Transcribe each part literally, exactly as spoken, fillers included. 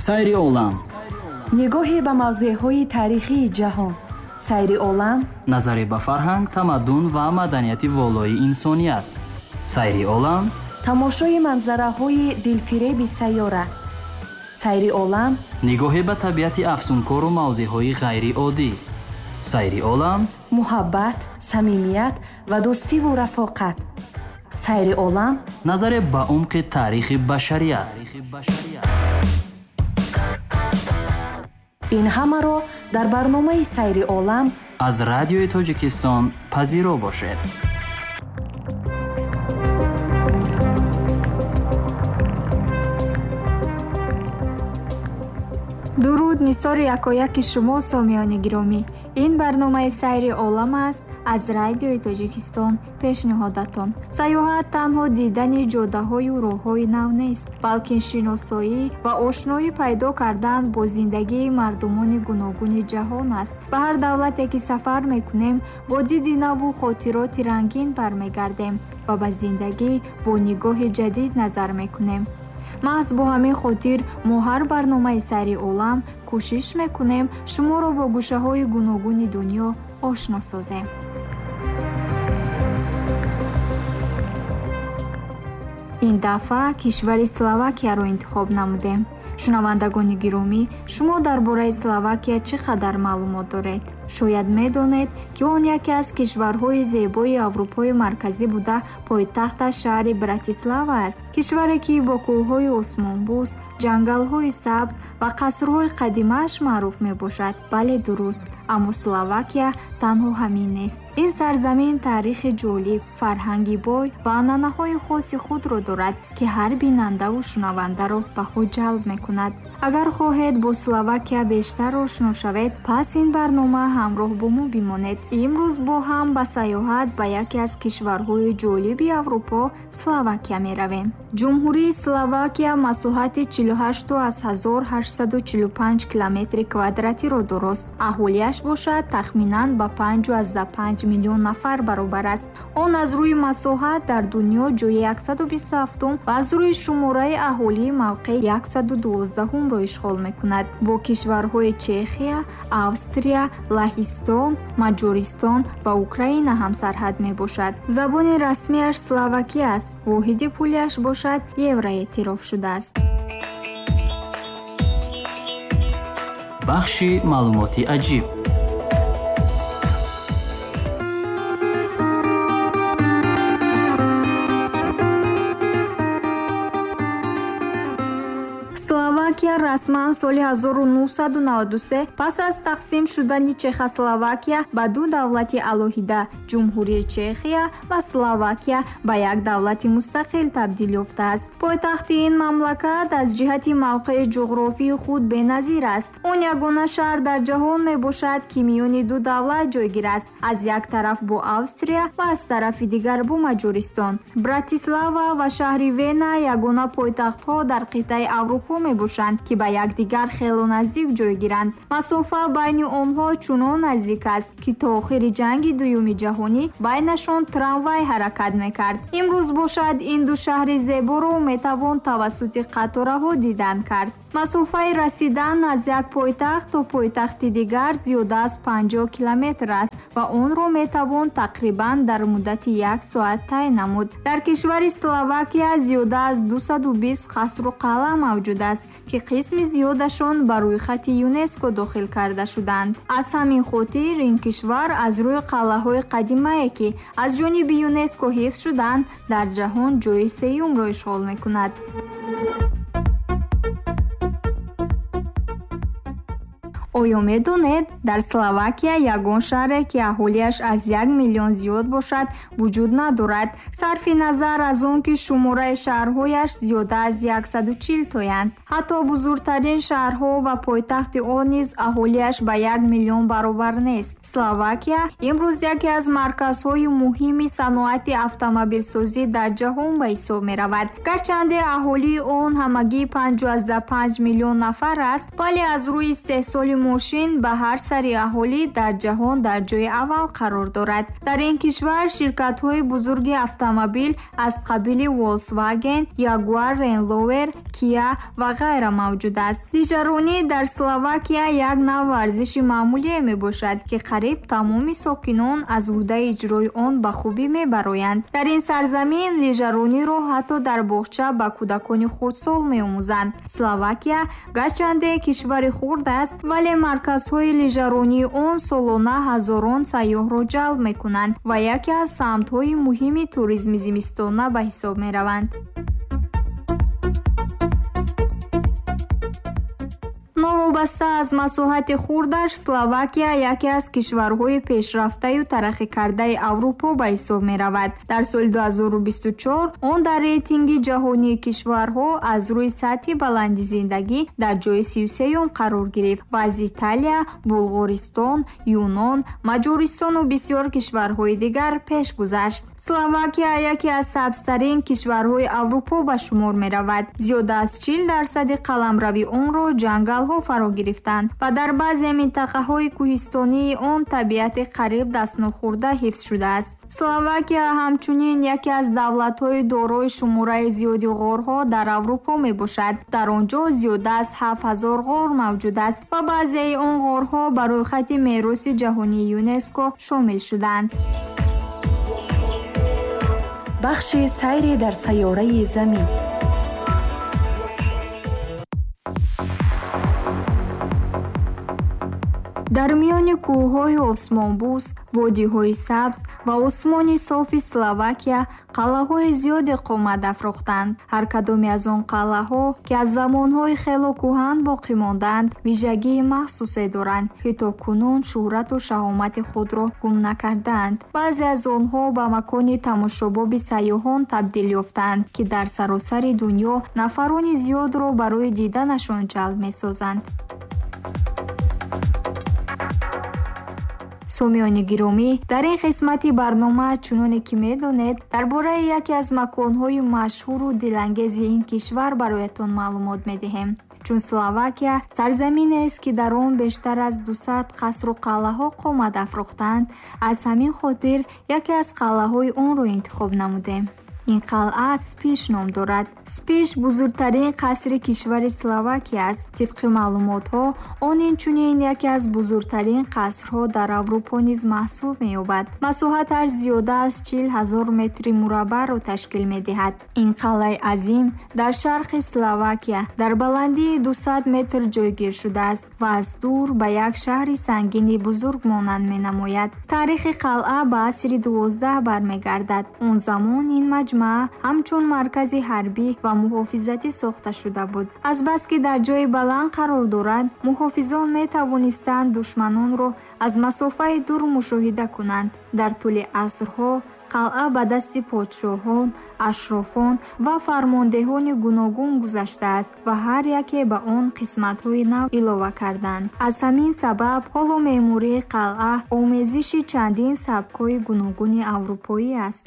Сайри олам. Нигоҳе ба мавзеъҳои таърихии ҷаҳон. Сайри олам. Назаре ба фарҳанг, тамаддун ва маданияти волои инсоният. Сайри олам. Тамошои манзараҳои дилфиреби сайёра. Сайри олам. Нигоҳе ба табиати афсункору мавзеъҳои ғайриоддӣ. Сайри олам. Муҳаббат, самимият ва дӯстиву рафоқат. Сайри олам. Назаре ба умқи таърихи башарият. Ин ҳамаро дар барномаи Сайри олам аз радиои Тоҷикистон пазиро бошед. Дуруд нисори якояки шумо, сомиёни гиромӣ. Ин барномаи Сайри олам аст аз радиои Тоҷикистон пешниҳодатон. Сайёҳат танҳо дидани ҷодаҳою роҳҳои нав нест, балки шиносоӣ ва ошноӣ пайдо кардан бо зиндагии мардумони гуногуни ҷаҳон аст. Ба ҳар давлате ки сафар мекунем, бо диди наву хотироти рангин бармегардем ва ба зиндагӣ бо нигоҳи ҷадид назар мекунем. Маҳз бо ҳамин хотир мо ҳар барномаи Сайри олам кӯшиш мекунем шуморо бо гӯшаҳои гуногуни дунё ошно созем. Ин дафъа кишвари Словакияро интихоб намудем. Шунавандагони гиромӣ, шумо дар бораи Словакия чӣ қадар маълумот доред? Шояд медонед, ки он яке аз кишварҳои зебои Аврупои марказӣ буда, пойтахташ шаҳри Братислава аст. Кишваре, ки бо кӯҳҳои осмонбӯс, ҷангалҳои сабз ва қасрҳои қадимааш маъруф мебошад. Бале, дуруст, аммо Словакия танҳо ҳамин нест. Ин сарзамин таърихи ҷолиб, фарҳанги бой ва анъанаҳои хоси худро дорад, ки ҳар бинандаву шунавандаро ба худ ҷалб мекунад. Агар хоҳед бо Словакия бештар ошно шавед, пас ин барнома ҳамроҳ бо мо бимонед. Имрӯз бо ҳам ба сайёҳат ба яке аз кишварҳои ҷолиби Аврупо, Словакия меравем. Ҷумҳурии Словакия масоҳати чилу ҳашту аз ҳазор ҳаштсаду чилу панҷ километри квадратиро дорост. Аҳолиаш бошад тахминан ба панҷу азда панҷ миллион нафар баробар аст. Он аз рӯи масоҳат дар дунё ҷои яксаду бисту ҳафтум ва аз рӯи шумораи аҳолӣ мавқеи яксаду дувоздаҳумро ишғол мекунад. Бо кишварҳои Чехия, Австрия, Лаҳистон, Маҷористон ва Украина ҳамсарҳад мебошад. Забони расмиаш словакӣ аст. Воҳиди пулиаш бошад евро эътироф шудааст. Бахши маълумоти аҷиб. Словакия расман соли ҳазору нуҳсаду наваду се пас аз тақсим шудани Чехословакия ба ду давлати алоҳида, Ҷумҳурии Чехия ва Словакия, ба як давлати мустақил табдил ёфтааст. Пойтахти ин мамлакат аз ҷиҳати мавқеи ҷуғрофии худ беназир аст. Он ягона шаҳр дар ҷаҳон мебошад, ки миёни ду давлат ҷойгир аст, аз як тараф бо Австрия ва аз тарафи дигар бо Маҷористон. Братислава ва шаҳри Вена ягона пойтахтҳо дар қитъаи Аврупо мебошанд, ки ба якдигар хело наздик ҷойгиранд. Масофа байни онҳо чунон наздик аст, ки то охири ҷанги дуюми ҷаҳонӣ байнашон трамвай ҳаракат мекард. Имрӯз бошад ин ду шаҳри зеборо метавон тавассути қатораҳо дидан кард. Масофаи расидан аз як пойтахт то пойтахти дигар зиёда аз панҷоҳ километр аст ва онро метавон тақрибан дар муддати як соат тай намуд. Дар кишвари Словакия зиёда аз дусаду бист қасру қалъа мавҷуд аст, ки қисми зиёдашон ба рӯйхати ЮНЕСКО дохил карда шуданд. Аз ҳамин хотир ин кишвар аз рӯи қалъаҳои қадимае, ки аз ҷониби ЮНЕСКО ҳифз шуданд, дар ҷаҳон ҷои сеюмро ишғол мекунад. Оё медонед, дар Словакия ягон шаҳре, ки аҳолиаш аз як миллион зиёд бошад, вуҷуд надорад, сарфи назар аз он ки шумораи шаҳрҳояш зиёда аз яксаду чил тоянд. Ҳатто бузургтарин шаҳрҳо ва пойтахти он низ аҳолиаш ба як миллион баробар нест. Словакия имрӯз яке аз марказҳои муҳими саноати автомобилсозӣ дар ҷаҳон ба ҳисоб меравад. Гарчанде аҳолии он ҳамагӣ панҷу азда панҷ миллион нафар аст, вале аз рӯи истеҳсоли мошин ба ҳар сари аҳолӣ дар ҷаҳон дар ҷои аввал қарор дорад. Дар ин кишвар ширкатҳои бузурги автомобил аз қабили Volkswagen, Jaguar, Land Rover, Kia ва ғайра мавҷуд аст. Лижаронӣ дар Словакия як нав варзиши маъмулие мебошад, ки қариб тамоми сокинон аз ӯҳдаи иҷрои он ба хубӣ мебароянд. Дар ин сарзамин лижарониро ҳатто дар боғча ба кӯдакони хурдсол меомӯзанд. Словакия гарчанде кишвари хурд аст, вале марказҳои лижаронии он солона ҳазорон сайёҳро ҷалб мекунанд ва яке аз самтҳои муҳими туризми зимистона ба ҳисоб мераванд. Новобаста аз масоҳати хурдаш, Словакия яке аз кишварҳои пешрафтаю тараққикардаи Аврупо ба ҳисоб меравад. Дар соли ду ҳазору бисту чор он дар рейтинги ҷаҳонии кишварҳо аз рӯи сатҳи баланди зиндагӣ дар ҷои сию сеюм қарор гирифт ва аз Италия, Булғористон, Юнон, Маҷористону бисёр кишварҳои дигар пеш гузашт. Словакия яке аз сабзтарин кишварҳои Аврупо ба шумор меравад. Зиёда аз чил дарсади қаламрави онро ҷангалҳо фаро гирифтанд ва дар баъзе минтақаҳои кӯҳистонии он табиати қариб дастнохӯрда ҳифз шудааст. Словакия ҳамчунин яке аз давлатҳои дорои шумораи зиёди ғорҳо дар Аврупо мебошад. Дар он ҷо зиёда аз ҳафт ҳазор ғор мавҷуд аст ва баъзеи он ғорҳо ба рӯйхати мероси ҷаҳонии ЮНЕСКО шомил шуданд. Бахши сайре дар сайёраи Замин. Дар миёни кӯҳҳои осмонбӯс, водиҳои сабз ва осмони софи Словакия қалъаҳои зиёде қомат афрохтанд. Ҳар кадоме аз он қалъаҳо, ки аз замонҳои хело кӯҳан боқӣ мондаанд, вижагии махсусе доранд, ки то кунун шӯҳрату шаҳомати худро гум накардаанд. Баъзе аз онҳо ба макони тамошобоби сайёҳон табдил ёфтаанд, ки дар саросари дунё нафарони зиёдро барои диданашон ҷалб месозанд. Сомиёни гиромӣ, дар ин қисмати барнома чуноне ки медонед, дар бораи яке аз маконҳои машҳуру дилангези ин кишвар бароятон маълумот медиҳем. Чун Словакия сарзаминест, ки дар он бештар аз дусад қасру қалъаҳо қомат афрохтанд, аз ҳамин хотир яке аз қалъаҳои онро интихоб намудем. Ин қалъа Спиш ном дорад. Спиш бузургтарин қасри кишвари Словакия аст. Тибқи маълумотҳо, он инчунин яке аз бузургтарин қасрҳо дар Аврупо низ маҳсуб меёбад. Масоҳаташ зиёда аз чил ҳазор метри мураббаъро ташкил медиҳад. Ин қалъаи азим дар шарқи Словакия дар баландии дусад метр ҷойгир шудааст ва аз дур ба як шаҳри сангини бузург монанд менамояд. Таърихи қалъа ба асри дувоздаҳ бармегардад. Он замон ин маҷмӯа ҳамчун маркази ҳарбӣ ва муҳофизатӣ сохта шуда буд. Азбаски дар ҷои баланд қарор дорад, муҳофизон метавонистанд душманонро аз масофаи дур мушоҳида кунанд. Дар тӯли асрҳо қалъа ба дасти подшоҳон, ашрофон ва фармондеҳони гуногун гузаштааст ва ҳар яке ба он қисматҳои нав илова карданд. Аз ҳамин сабаб ҳоло меъмории қалъа омезиши чандин сабкҳои гуногуни аврупоӣ аст.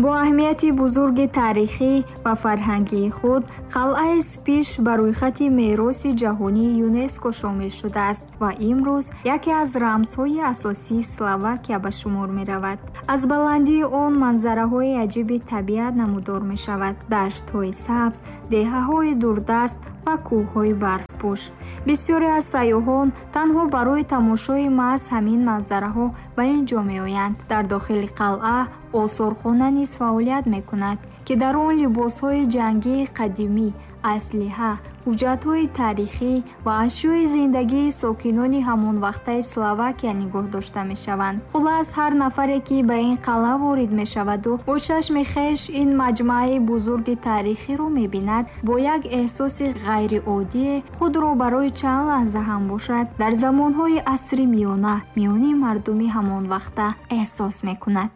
Бо аҳамияти бузурги таърихӣ ва фарҳангии худ, қалъаи Спиш ба рӯйхати мероси ҷаҳонии ЮНЕСКО шомил шудааст ва имрӯз яке аз рамзҳои асосии Словакия ба шумор меравад. Аз баландии он манзараҳои аҷиби табиат намудор мешавад: даштҳои сабз, деҳаҳои дурдаст ва кӯҳҳои барфпӯш. Бисёре аз сайёҳон танҳо барои тамошои маҳз ҳамин манзараҳо ба ин ҷо меоянд. Дар дохили қалъа осорхона низ фаъолият мекунад, ки дар он либосҳои ҷангии қадимӣ, аслиҳа, ҳуҷҷатҳои таърихӣ ва ашёи зиндагии сокинони ҳамонвақтаи Словакия нигоҳ дошта мешаванд. Хулас, ҳар нафаре, ки ба ин қалъа ворид мешаваду бо чашми хеш ин маҷмӯаи бузурги таърихиро мебинад, бо як эҳсоси ғайриоддие худро барои чанд лаҳза ҳам бошад дар замонҳои асри миёна миёни мардуми ҳамонвақта эҳсос мекунад.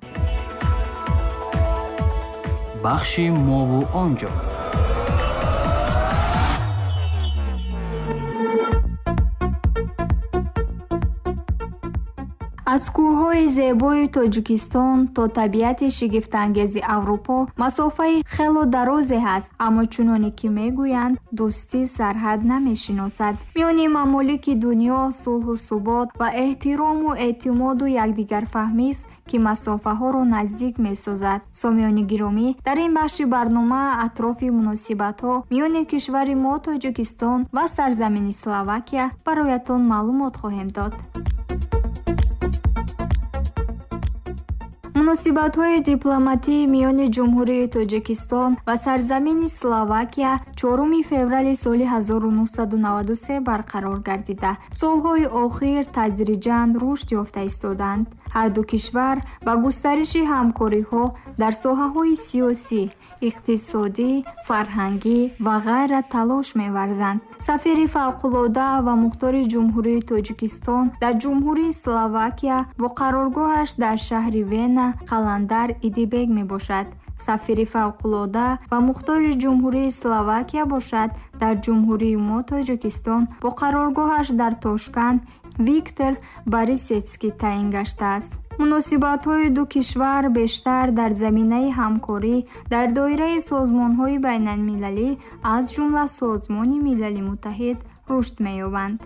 Бахши мову онҷо. Аз Аз кӯҳҳои зебои Тоҷикистон то табиати шигифтангези Аврупо масофаи хело дарозе ҳаст, аммо чуноне ки мегӯянд, дӯстӣ сарҳад намешиносад. Миёни мамолики дунё сулҳу субот ва эҳтирому эътимоду якдигарфаҳмист, ки масофаҳоро наздик месозад. Сомиёни гиромӣ, дар ин бахши барнома атрофи муносибатҳо миёни кишвари мо Тоҷикистон ва сарзамини Словакия бароятон маълумот хоҳем дод. Муносибатҳои дипломатии миёни Ҷумҳурии Тоҷикистон ва сарзамини Словакия чоруми феврали соли ҳазору нуҳсаду наваду се барқарор гардида, солҳои охир тадриҷан рушд ёфта истоданд. Ҳар ду кишвар ба густариши ҳамкориҳо дар соҳаҳои сиёсӣ, иқтисодӣ, фарҳангӣ ва ғайра талош меварзанд. Сафири фавқулода ва мухтори Ҷумҳурии Тоҷикистон дар Ҷумҳурии Словакия бо қароргоҳаш дар шаҳри Вена Қаландар Идибек мебошад. Сафири фавқулода ва мухтори Ҷумҳурии Словакия бошад дар Ҷумҳурии мо Тоҷикистон бо қароргоҳаш дар Тошканд Виктор Борисецкий таъин гаштааст. Муносибатҳои ду кишвар бештар дар заминаи ҳамкорӣ дар доираи созмонҳои байналмилалӣ, аз ҷумла Созмони Милали Муттаҳид, рушд меёбанд.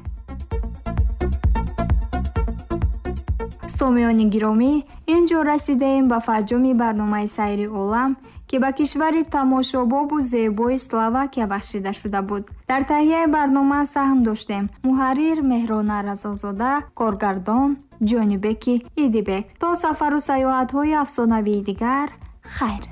Сомиёни гиромӣ, ин ҷо расидаем ба фарҷоми барномаи Сайри олам, ки ба кишвари тамошобобу зебои Словакия бахшида шуда буд. Дар таҳияи барнома саҳм доштем муҳаррир Меҳрона Разозода, коргардон Ҷонибеки Идибек. То сафару саёҳатҳои афсонавии дигар, хайр.